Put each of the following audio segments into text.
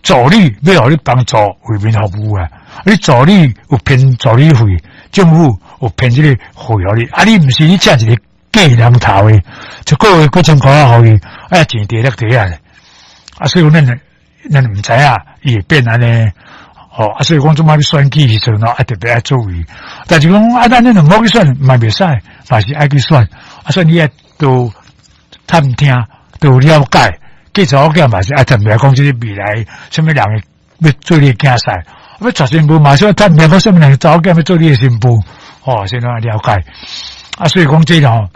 助理欲予你幫助為民服務啊！你助理有編助理費，政府有編這個費予你，啊！你毋是你請一個假人頭的，一個月幾千箍仔予伊，啊錢佇咧底下，啊！所以咱咱毋知影伊會變按呢，吼！啊！所以講這擺欲選舉時陣啊，特別愛注意。但是講啊，咱恁毋好去選嘛袂使，嘛是愛去選。啊，所以你愛多探聽，多了解。嫁查某囝嘛是愛特別講這個未來，啥物人欲做你囝婿，欲娶新婦嘛是愛探聽講啥物人查某囝欲做你的新婦，吼，先來了解。啊，所以講這個吼，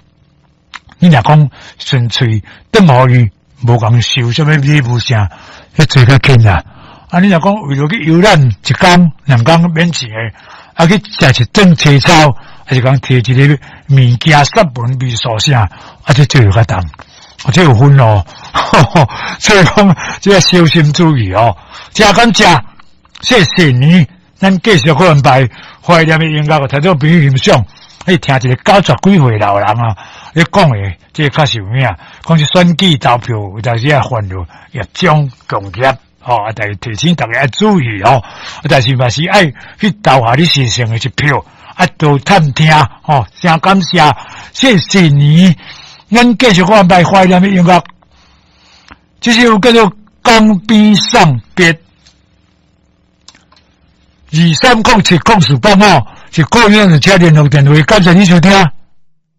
你若講純粹轉予伊，無共收啥物禮物啥，彼濟較輕啦。啊，你若講為著去遊覽一工、兩工免錢的，啊去食一頓清操，還是講提一個物件、散文、味素啥，啊，這就較重。這有分哦，所以講這個小心注意哦。真感謝，謝謝你，咱繼續閣安排懷念的音樂，聽眾朋友欣賞。你聽一個九十幾歲老人啊，咧講的，這個較實有影。講是選舉投票有當時啊犯著業障共業，吼，啊，但是提醒大家愛注意哦。但是嘛是愛去投下你神聖的一票，啊，多探聽吼，真感謝，謝謝你。咱繼續閣安排懷念的音樂，這首叫做《江邊送別》，23070485是個人車聯絡電話，感謝你收聽。